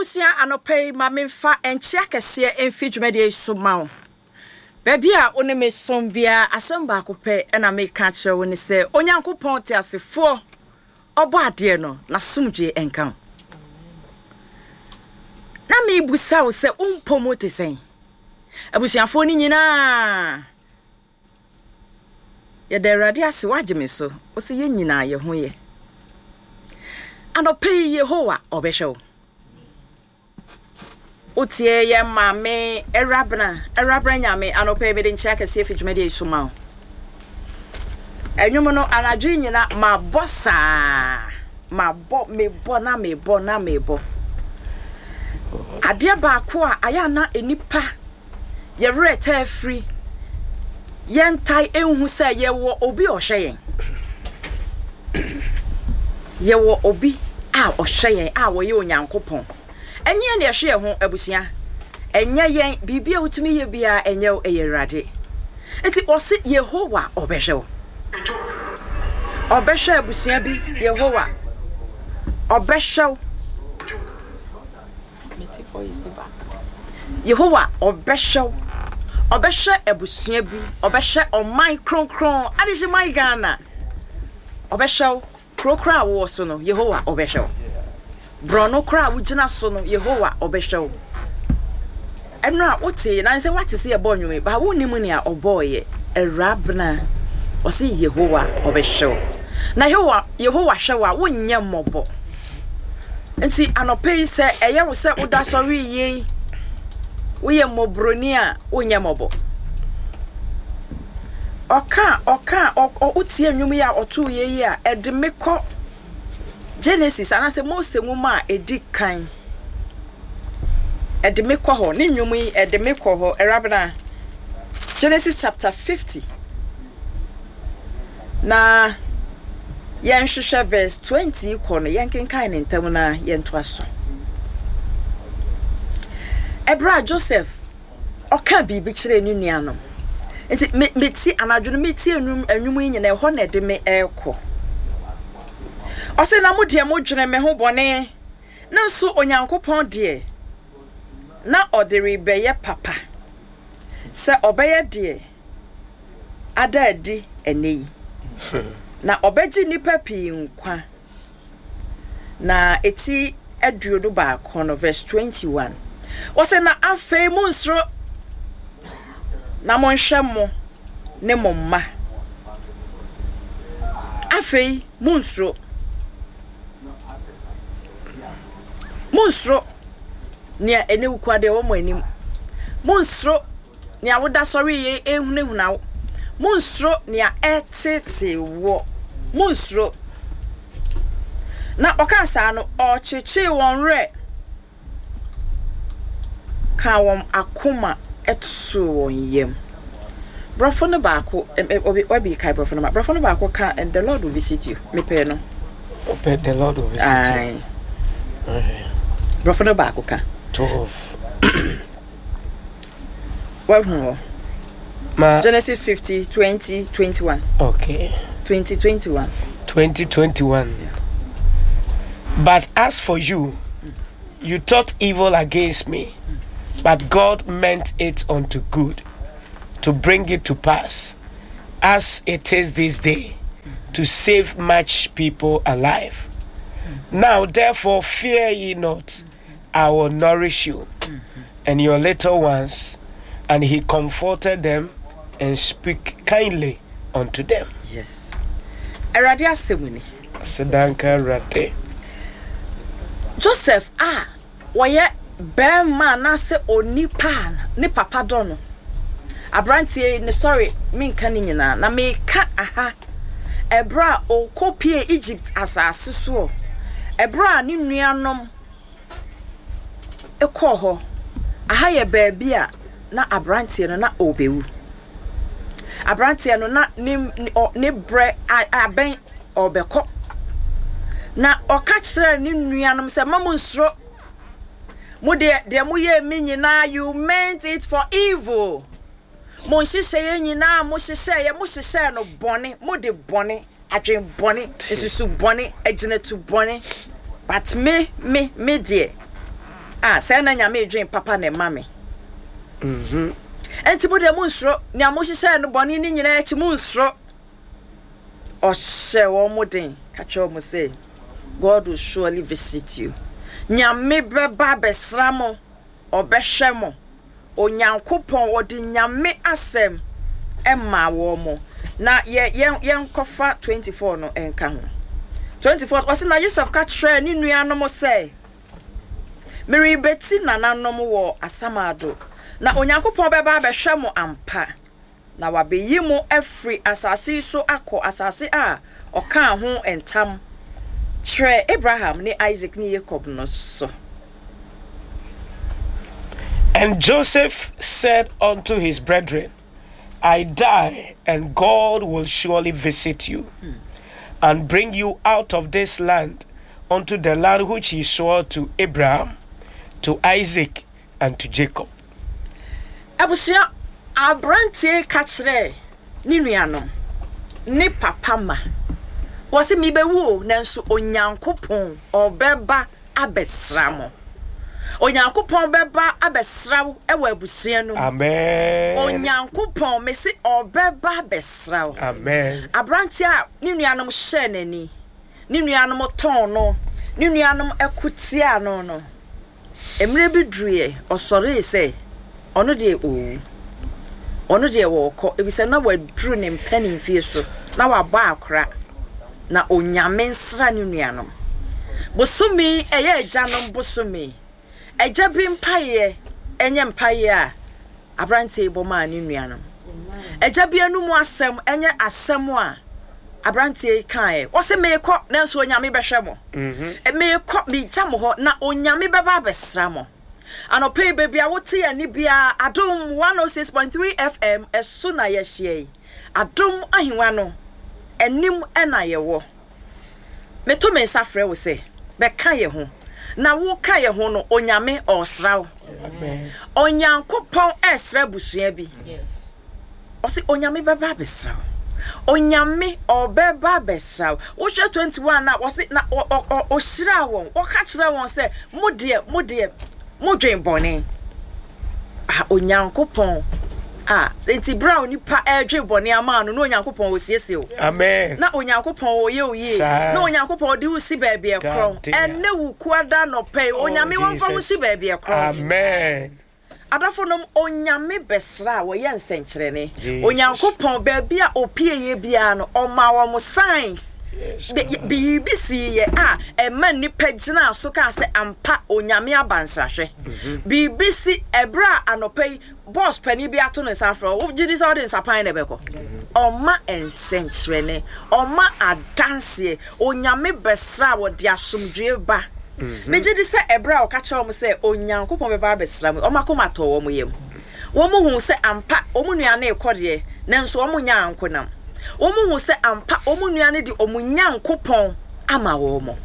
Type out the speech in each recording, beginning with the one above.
Abusua anɔpa yi ma memfa nkyea kɛseɛ mfi dwumadie yi so ma wo. Baabi a wo ne me som biara asɛm baako pɛ na meka akyerɛ wo ne sɛ Onyankopɔn teasefoɔ ɔbɔ adeɛ no n'asomdwoeɛ nka wo. Na mebusa wo sɛ wo mpɔ mu te sɛn? Abusuafoɔ no nyinaa Yɛda Awurade ase, wagye me so. Ɔsɛ yɛn nyinaa yɛ ho yɛ. Anɔpa yi Yehowa ɔbɛhwɛ wo. Wotie yɛn maame Awurabena, Awurabena Nyame, anɔpa yi mede nkyea kɛseɛ fi dwumadie yi so ma wo. Ɛnwom no anadwo yi nyina mabɔ saa, mabɔ, mebɔ na mebɔ na mebɔ. Adeɛ baako a ayɛ ana nnipa yɛn werɛ taa firi, yɛntae nhu sɛ yɛwɔ obi a ɔhwɛ yɛn. Yɛwɔ obi a ɔhwɛ yɛn a ɔyɛ Onyankopɔn. Ɛnyɛ yɛn na yɛhwɛ yɛn ho, abusua. Ɛnyɛ yɛn, biribi a wotumi yɛ biara ɛnyɛ wo, ɛyɛ Awurade. Nti ɔse Yehowa ɔbɛhwɛ wo. Ɔbɛhwɛ abusua bi, Yehowa ɔbɛhwɛ wo. Yehowa ɔbɛhwɛ wo, ɔbɛhwɛ abusua bi, ɔbɛhwɛ ɔman kronkron, adehyeman Ghana. Ɔbɛhwɛ wo, kuro koraa a wowɔ so no, Yehowa ɔbɛhwɛ wo. Borɔno koraa a wogyina so no, Yehowa ɔbɛhwɛ wo. Ɛno a wote, na sɛ woate sɛ yɛbɔ nnwom yi, ba wonnim nea ɔbɔɔyɛ. Awurabena, ɔse Yehowa ɔbɛhwɛ wo. Na Yehowa, Yehowa hwɛ wo a, wonyɛ mmɔbɔ. Nti anɔpa yi sɛ ɛyɛ wo sɛ woda sɔre yie yi, woyɛ mmɔborɔni a, wonyɛ mmɔbɔ. Ɔka ɔka wotie nnwom yi a ɔtoo yɛ yi a, ɛde me kɔ Genesis anaasɛ Mose nwoma a ɛdi kan. Ɛde me kɔ hɔ, ne nnwom yi ɛde me kɔ hɔ, Awurabena. Genesis chapter 50. Na yɛnhwehwɛ verse 20 kɔ no, yɛnkenkan ne ntam na yɛntoa so. Ɛberɛ a Joseph ɔka biribi kyerɛɛ ne nuanom. Nti me meti anadwo no metie nnwom nnwom yi nyinaa ɛhɔ na ɛde me ɛrekɔ. Ɔsɛ na mo deɛ modwene me ho bɔne, ne nso Onyankopɔn deɛ na ɔde rebɛyɛ papa sɛ ɔbɛyɛ deɛ ada adi ɛnnɛ yi, na ɔbɛgye nnipa pii nkwa. Na eti 21 no, verse 21, wɔsɛ na afei monnsuro na monhwɛ mo ne mo mma. Afei monnsuro. Monnsuro nea ɛne wukua deɛ ɛwɔ mo anim. Monnsuro nea woda sɔre yɛ ehunahuna wo. Monnsuro nea ɛreteetee woɔ. Monnsuro. Na ɔkaa saa no, ɔkyekyee wɔn werɛ kaa wɔn akoma too wɔn yam. Borɔfo no baako, obi wabi kae borɔfo no ma. Borɔfo no baako ka, and the Lord will visit you. Mepɛ no. Ɔpɛ the Lord will visit you. Aye. Borɔfo no baako ka. 12. Wahu hɔ. Ma Genesis 50, 20, 21. Okay. 20, 21. 20, 21. Yeah. But as for you, you thought evil against me, but God meant it unto good, to bring it to pass, as it is this day, to save much people alive. Now therefore fear ye not, I will nourish you and your little ones. And he comforted them and speak kindly unto them. Yes. Awurade asɛm ni. Asedanka Awurade. Joseph a wɔyɛ bɛrima anaasɛ onipa a ne papa dɔ no. Aberanteɛ yi ne sɔre menka ne nyinaa na meka aha ɛberɛ a ɔkɔpie Egypt asase soɔ ɛberɛ a ne nuanom kɔɔ hɔ. Aha yɛ baabi a na aberanteɛ no na ɔrebɛwu. Aberanteɛ no na ne ne berɛ abɛn ɔrebɛkɔ. Na ɔka kyerɛɛ ne nuanom sɛ, mma mo nsuro. Mo deɛ, deɛ moyɛɛ me nyinaa, you meant it for evil. Mo nhyehyɛeɛ nyinaa a mohyehyɛeɛ, mohyehyɛɛ no bɔne, mode bɔne Adwen bɔne, nsusu bɔne, agyinatu bɔne, but me, me, me deɛ, Ah, sɛɛ na Nyame redwen papa na ɛma me. Enti mo deɛ monnsuro, nea mohyehyɛɛ no bɔne no nyinaa akyi, monnsuro. Ɔhyɛɛ wɔn den, ka kyerɛɛ wɔn sɛ, God will surely visit you. Nyame bɛba abɛsra mo, ɔbɛhwɛ mo. Onyankopɔn, ɔde Nyame asɛm maa wɔn. Na yɛ, yɛn, yɛnkɔfa 24 no nka ho. 24, ɔse, na Yosef ka kyerɛɛ ne nuanom sɛ, Merebɛti nananom wɔ asamado, na Onyankopɔn bɛba abɛhwɛ mo ampa, na wabeyi mo afiri asase yi so akɔ asase a ɔkaa ho ntam kyerɛɛ Abraham ne Isak ne Yakob no so. And Joseph said unto his brethren, I die, and God will surely visit you and bring you out of this land unto the land which he swore to Abraham, to Isaac, and to Jacob. Abusua, aberanteɛ yi ka kyerɛɛ ne nuanom, ne papa ma, wɔse mebɛwu o, nanso Onyankopɔn ɔbɛba abɛsra mo. Onyankopɔn bɛba abɛsra wo wɔ abusua no mu. Amen. Onyankopɔn, mese ɔbɛba abɛsra wo. Amen. Aberanteɛ a ne nuanom hyɛɛ n'ani, ne nuanom tɔn no, ne nuanom ko tiaa no no, mmerɛ bi duruiɛ, ɔsɔree sɛ ɔno deɛ ɔrewu. Ɔno deɛ ɔrekɔ, efisɛ na waduru ne mpanimfie so, na wabɔ akora, na Onyame nsra ne nuanom. Bosome yi ɛyɛ agyanom bosome. Agya bi mpaeɛ nyɛ mpaeɛ a aberanteɛ yi bɔ maa ne nuanom. Agya bi anum asɛm nyɛ asɛm a aberanteɛ yi kaeɛ. Ɔse meekɔ nanso Onyame bɛhwɛ mo. Meekɔ, megya mo hɔ na Onyame bɛba abɛsra mo. Anɔpa yi baabi a wote yɛn nne biara, Adom 106.3 FM ɛso na yɛahyia yi. Adom ahengua no anim na yɛwɔ. Meto me nsa frɛ wo sɛ bɛka yɛn ho. Na woka yɛn ho no, Onyame ɔresra wo. Onyankopɔn ɛresra abusua bi. Ɔse Onyame bɛba abɛsra wo. Onyame ɔbɛba abɛsra wo. Wohwɛ 21 a, ɔse na ɔhyiraa wɔn. Ɔka kyerɛɛ wɔn sɛ, mo deɛ, mo deɛ, modwen bɔne. Ah, Onyankopɔn a, nti berɛ a onipa ɛredwen bɔne ama no, na Onyankopɔn ɔsiesie wo. Amen. Na Onyankopɔn ɔyɛ wo yie. Na Onyankopɔn ɔde wo si baabi ɛkorɔn. Ɛnɛ wo kuada nɔpɛ yi, Onyame wɔmfa wo si baabi ɛkorɔn. Amen. Adɔfonom, Onyame bɛsra a wɔyɛ nsɛnkyerɛnne. Onyankopɔn, baabi a ɔpieeɛ biara no, ɔmaa wɔn signs. Biribi siiɛ a ɛma nnipa gyinaa so kaa sɛ, ampa, Onyame aba nsrahwɛ. Biribi si ɛberɛ a anɔpa yi, bɔs panin bi ato ne nsa afrɛ wo, wogye di sɛ wode nsapan na ɛbɛkɔ? Ɔma nsɛnkyerɛnne, ɔma adanseɛ. Onyame bɛsra a wɔde asomdwoeɛ ba. Megye di sɛ ɛberɛ a ɔka kyerɛɛ wɔn sɛ Onyankopɔn bɛba abɛsra wɔn yi, wɔn akoma tɔɔ wɔn yam. Wɔhuu sɛ ampa wɔn nua no rekɔ deɛ, nanso wɔnyɛ ankonam. Wɔhuu sɛ ampa wɔn nua no de wɔn Nyankopɔn ama wɔn.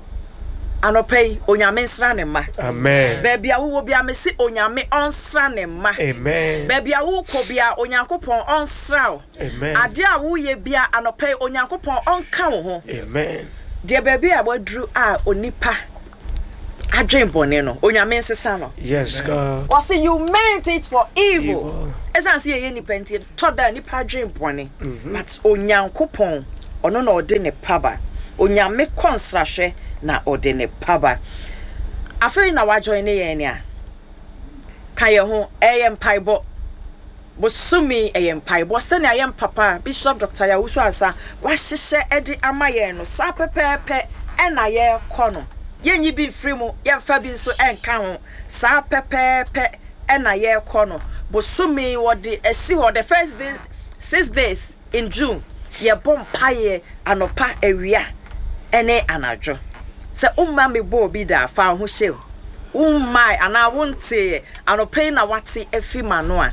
Anɔpa yi, Onyame nsra ne mma. Amen. Baabi a wowɔ biara, mese Onyame ɔnsra ne mma. Amen. Baabi a wokɔ biara, Onyankopɔn ɔnsra wo. Amen. Adeɛ a woyɛ biara, anɔpa yi, Onyankopɔn ɔnka wo ho. Amen. Deɛ baabi a waduru a onipa adwen bɔne no, Onyame nsesa no. Yes, God. Wɔse you meant it for evil. Ɛsiane sɛ yɛyɛ nipa nti, tɔ da nipa adwen bɔne. Mm-hmm. But Onyankopɔn, ɔno na ɔde ne paba. Onyame kɔ nsrahwɛ na ɔde ne paba. Afei na wajoin ne yɛn a, ka yɛn ho, ɛyɛ mpaebɔ. Bosome yi ɛyɛ mpaebɔ sɛnea yɛn papa Bishop Doctor Yaw Owusu Ansah wahyehyɛ de ama yɛn no saa pɛpɛɛpɛ na yɛrekɔ no. Yɛnyi bi mfiri mu, yɛmfa bi nso nka ho, saa pɛpɛɛpɛ na yɛrekɔ no. Bosome yi wɔde asi hɔ, the first day, 6 days in June, yɛbɔ mpaeɛ anɔpa, awia ne anadwo. Sɛ womma mebɔɔ bi da a, fa wo ho hyɛ mu. Wommae anaa wonteeɛ, anɔpa yi na woate afi m'ano a,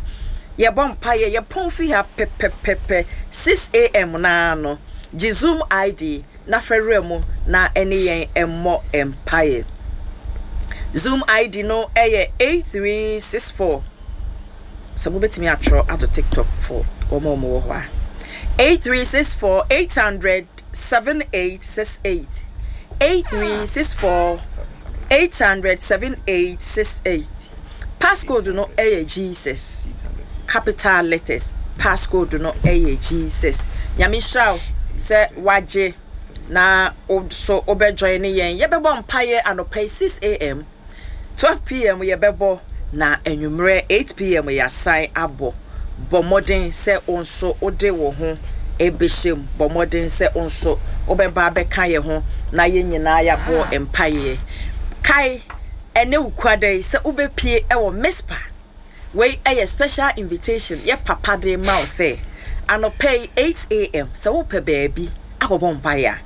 yɛbɔ mpaeɛ, yɛpɔn fi ha pɛpɛpɛpɛ, 6 a.m. no ara no, gye Zoom ID na fa wura mu na ɛne yɛn mmɔ mpaeɛ. Zoom ID no yɛ 8364. Sɛ mobɛtumi atwerɛ ato TikTok for wɔn a wɔwɔ hɔ a. 8364 800 7868. 8364. 800 7868. Passcode no yɛ Jesus. Capital letters. Passcode no yɛ Jesus. Nyame nhyira wo sɛ wagye na wo so wobɛ join ne yɛn. Yɛbɛbɔ mpaeɛ anɔpa yi 6 am, 12 pm yɛbɛbɔ na anwummerɛ 8 pm yɛasan abɔ. Bɔ mmɔden sɛ wo nso wode wo ho bɛhyɛ mu. Bɔ mmɔden sɛ wo nso wobɛba abɛka yɛn ho na yɛn nyinaa yɛabɔ mpaeɛ. Kae ɛnɛ Wukuada yi sɛ wobɛpue wɔ Mizpah. Wei yɛ special invitation yɛ papa de rema wo sɛ anɔpa yi 8 am sɛ wopɛ baabi akɔbɔ mpaeɛ a,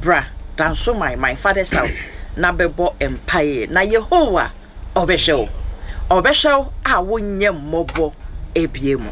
bra Dansoman, my father's house, na bɛbɔ mpaeɛ na Yehowa ɔbɛhwɛ wo. Ɔbɛhwɛ wo a wonyɛ mmɔbɔ bio mu.